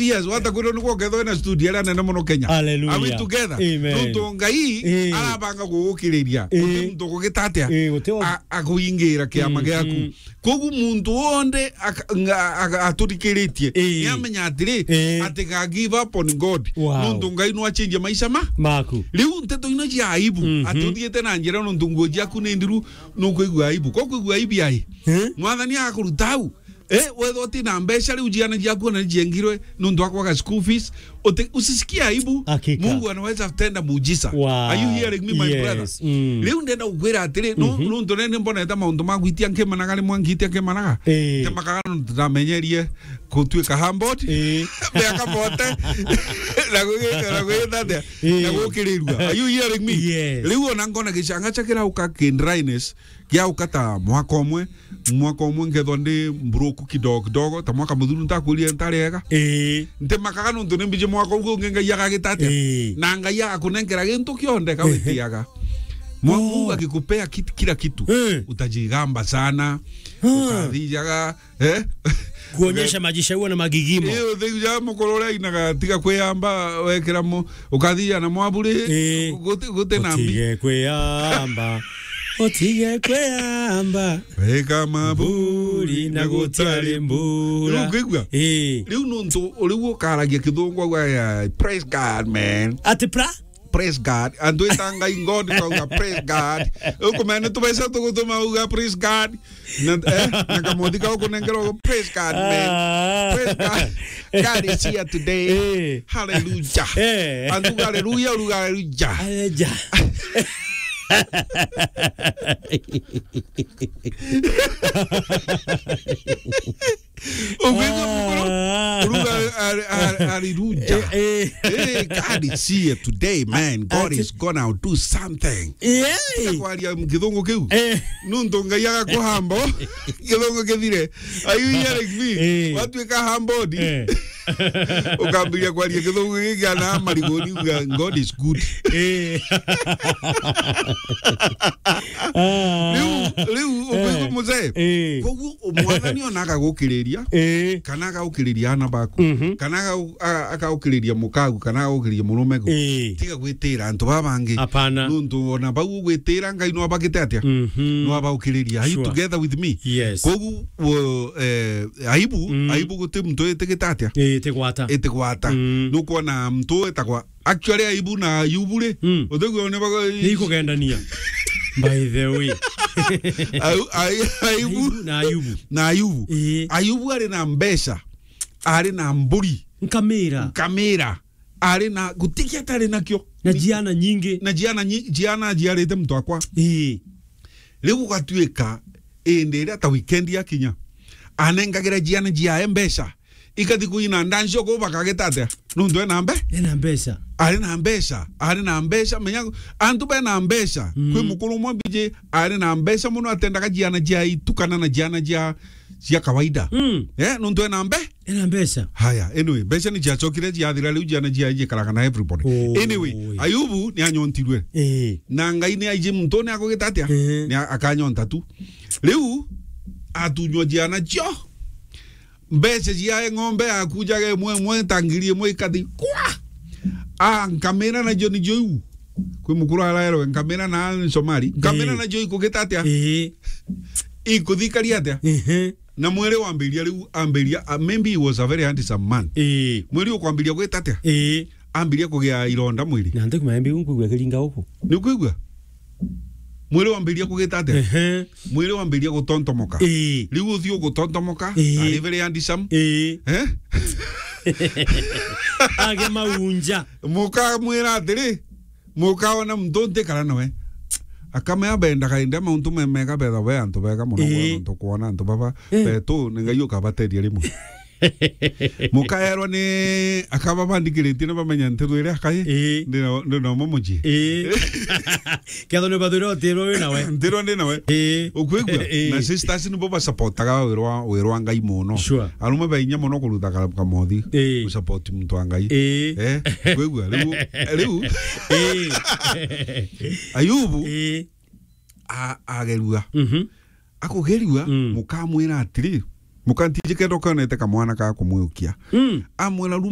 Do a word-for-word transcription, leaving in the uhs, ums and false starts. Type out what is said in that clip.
years, wata kwirwo niguo ukethwa wina studio iria nene muno Kenya. Hallelujah. Are we together? Amen. Nontu Ngai Eh. arabanga gugukiriria. Eh. Uti muntu kugita atia? Eh, uti o- A-, akuingira kiama Mm, giaku. mm. Kogu muntu wonthe aka-, nga-, aga-, aturikiritie, Eh. niamenya atiri, Eh. ati ga give up on God. Wow. Nontu Ngai no achinjie maisha ma. Maku. Riu nteto ino cia aibu, Mhm. ati uthiite na njira nontu nguo ciaku ni ndiru, nukwigua aibu. Ko kwigua aibu ai? Eh? Mwathani agakuruta au. Eh, wethwa uti na mbeca, riu ciana ciaku ona niciengirwe nontu wa kwaga school fees, uti-, usisikie aibu. Hakika. Mungu anaweza tenda muujiza. Wow. Are you hearing me, my Yes. brother? Mm. Riu ndenda gukwira atiri, no, Mhm. nontu nene mbonete maundu ma gwitia nkimanaga, rimwe ngitia nkimanaga. Eh. Ntemakaga nontu ndamenyerie gutuika humbled. Eh. Miaka mote. Na gwigika, na gwithathia. Eh. Na gukirirua. Are you hearing me? Yes. Riu ona nkona gicanga cha kirauka ki dryness, giauka ta mwaka umwe, mwaka umwe nkethwa ndi mbroku kidogo kidogo, ta mwaka muthuru ntakwirire ntari ega. Ii. Ntemakaga nontu ni mbiji mwaka ugu ungi Ngai agagita atia? Ii. Na Ngai agakunenkera gintu kionthe kawitiaga. Mwa-, Oh. Mungu akikupea kit-, kila kitu, Eh. utajigamba sana, Ah. ukathijaga, eh? Kuonyesha majica uo na magigimo. Eh, uthijaga mukuru uria ainaga, "Tiga kwiyamba, wekira mu-, ukathija na mwaburi, Eh. guti, guti na mbi." Utige kwiyamba. Utige kwiyamba. Weka maburi Mburi na na gutari gutari mbura. Riu ukwigua? Eh. Riu nontu riu ukaragia kithungu, auga, "Praise God, man." Ati pra? Praise God. Antu ita Ngai God, kauga, "Praise God." Ukumenya ni tubeca tugutuma uga, "Praise God." Na, eh, na kamothi kau kunengerwa, "Praise God, man. Ah. Praise God. God is here today." Eh. Hallelujah." Eh. Antu uga, "Hallelujah," uruga, "Hallelujah." Hallelujah. Ukwigua mukuru? Ah. Uruga, "Hal-, hal-, hallelujah." Eh, eh. Hey, God is here today, man. God Ati- is gonna do something. Yeah. Tiga kwaria kithungu kiu. Eh. Nontu Ngai agakuhamba. Kithungu kithire. Are you hearing me? Eh. Watuika humbled. Eh. Ukambiria kwaria kithungu giki ana marigoni, uga, "God is good." Eh. Ah. Riu, riu, ukwigua Eh. muzee? Eh. Koguo, mwathani ona agagukiriria, Eh. kana agagukiriria ana baku, Mhm. kana aga-, a-, agagukiriria mukagu, kana agagukiriria murumeku. Eh. Tiga gwitira antu baba bangi. Hapana. Nontu ona bau ugwitira, Ngai no abagite atia? Mhm. No abaukiriria. Are you Sure. together with me? Yes. Koguo, wo-, eh, aibu, Mm. aibu guti muntu itigita atia? Eh, itigwata. Itigwata. Mm. Nukwona muntu etagwa, actually, aibu na Ayubu ri, Mm. uthigua ni bago- Ni ikugendania. By the way. Ayu-, ayu-, aibu Aibu na Ayubu. na Ayubu. Eh. Ayubu ari na mbeca, ari na mburi, Nkamira. nkamira, ari na, gutiki atari nakio. Na ciana nyingi. Na ciana nyi-, ciana aciarite muntu akwa. Ii. Riu gugatuika, indi iria ta weekend yakinya, anengagira ciana ciae mbeca, ikathi kuina ndancio kuu bakagita atia? Nontu ena mbe-? Ena mbeca. Ari na mbeca, ari na mbeca, menya, antu bena mbeca. Mm. Kwi mukuru umwe mbiji, ari na mbeca muno, atendaga ciana cia itu kana na ciana cia, cia kawaida. Mm. Eh, nontu ena mbe-? Ena mbeca. Haya, anyway, mbeca ni ciacokire ciathira, riu ciana cia-, ciikaraga na everybody. Oh, Anyway, oi. Ayubu ni anyontirwe. Eh. Na Ngai ni aiji muntu ni akugita atia? Eh. Ni a-, akanyonta tu. Riu atunywa ciana cio. Mbeca cia ng'ombe akujaga imwe imwe ta ngiri imwe ikathi kwa. Ah, nkamira nacio nicio iu. Kwi mukuru araerwe nkamira na Somali. Nkamira Eh. nacio ikugita atia? Eh. Ikuthikaria atia? Ehe. Na mwiri wambiria riu, ambiria, ah, maybe he was a very handsome man. Eh. Mwiri ukwambiria gwita atia? Eh. Ambiria kugia ironda mwiri. Na ntikumenya mbiu nkwigua kiringa uku. Ni ukwigua? Mwiri wambiria kugita atia? Ehe. Mwiri wambiria gutontomoka. Ii. Riu uthio gutontomoka, Ii. ari very handsome. Ii. Eh? Age maunja. Mukamwira atiri, mukaona muntu ntikara nawe. Akamea bendaga indi mauntu memega betha be antu bega muno Ii. kwona antu kwona antu baba Ii. betu ni Ngai ukabateria rimwe. Mukaerwa ni akaba bandikiritie ni bamenya ntiru iria akai. Ii. Ndina, ndina umwe mucii. Ii. Ketho ni bathwire utirwo wi nawe. Ntirwo ndi nawe. Ii. Ukwigua? Ii. Na sisters nibo basupportaga wirwa, wirwa Ngai muno. Sure. Arume ba inya muno kurutha ka-, kamothi. Ii. Gusupport muntu wa Ngai. Ii. Eh? Kwigua? Riu, riu. Ii. Ayubu Ii. a-, agerua. Mhm. Akugerua, Mm. mukamwira atiri, muka ntiji kenda ukonete kamwana ka kumwiukia. Mm. Amwira,